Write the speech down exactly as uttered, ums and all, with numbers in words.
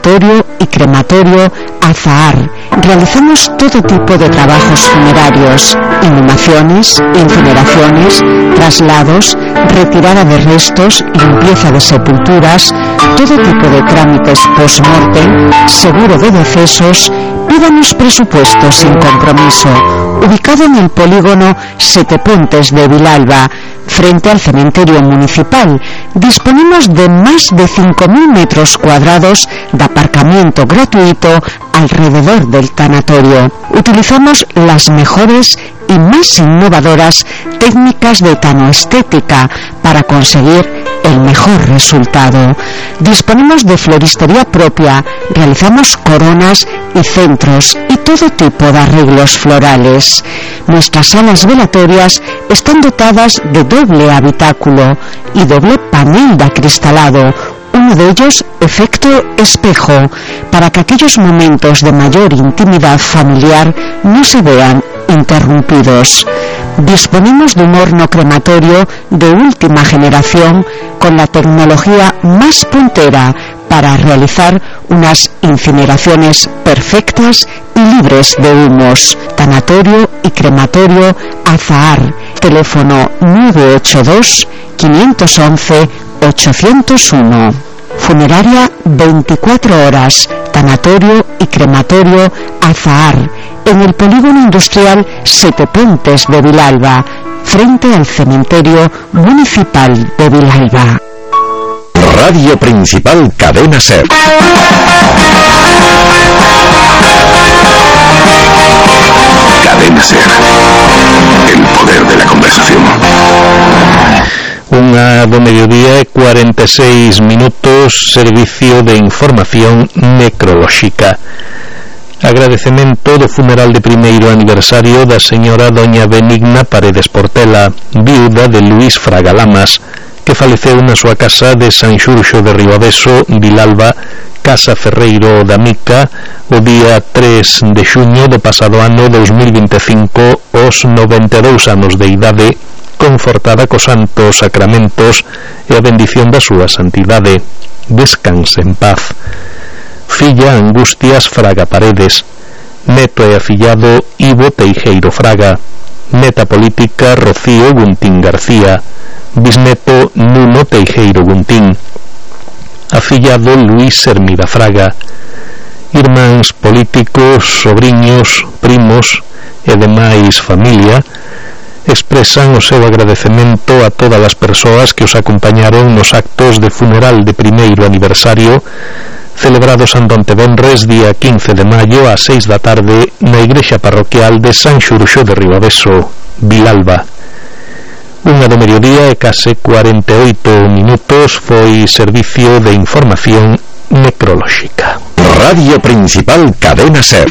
tanatorio y crematorio Azahar. Realizamos todo tipo de trabajos funerarios: inhumaciones, incineraciones, traslados, retirada de restos, limpieza de sepulturas, todo tipo de trámites post-mortem, seguro de decesos. Pídanos presupuestos sin compromiso. Ubicado en el polígono Sete Pontes de Vilalba, frente al cementerio municipal, disponemos de más de cinco mil metros cuadrados de aparcamiento gratuito alrededor del tanatorio. Utilizamos las mejores y más innovadoras técnicas de tanoestética para conseguir el mejor resultado. Disponemos de floristería propia, realizamos coronas y centros y todo tipo de arreglos florales. Nuestras salas velatorias están dotadas de doble habitáculo y doble panel de acristalado, uno de ellos efecto espejo, para que aquellos momentos de mayor intimidad familiar no se vean interrumpidos. Disponemos de un horno crematorio de última generación con la tecnología más puntera para realizar unas incineraciones perfectas y libres de humos. Tanatorio y crematorio Azahar. Teléfono nueve ocho dos, cinco uno uno, ocho cero uno. Funeraria veinticuatro horas. Tanatorio y crematorio Azahar, en el polígono industrial Sete Pontes de Vilalba, frente al cementerio municipal de Vilalba. Radio Principal Cadena SER. Cadena SER. El poder de la conversación. Unha do mediodía e cuarenta e seis minutos, servicio de información necrolóxica. Agradecemento do funeral de primeiro aniversario da señora doña Benigna Paredes Portela, viuda de Luís Fraga Lamas, que faleceu na súa casa de San Xurxo de Ribaveso, Vilalba, Casa Ferreiro da Mica, o día tres de xuño do pasado ano dous mil vinte e cinco, aos noventa e dous anos de idade, confortada cos santos sacramentos e a bendición da súa santidade. Descanse en paz. Filla Angustias Fraga Paredes. Neto e afillado Ivo Teijeiro Fraga. Neta política Rocío Guntín García. Bisneto Nuno Teijeiro Guntín. Afillado Luís Hermida Fraga. Irmáns políticos, sobriños, primos e demais familia expresan o seu agradecemento a todas as persoas que os acompañaron nos actos de funeral de primeiro aniversario celebrados en Dontebenres día quince de maio ás seis da tarde na igrexa parroquial de San Xurxo de Ribaveso, Vilalba. Unha do mediodía e case cuarenta e oito minutos foi servicio de información necrolóxica. Radio Principal Cadena SER.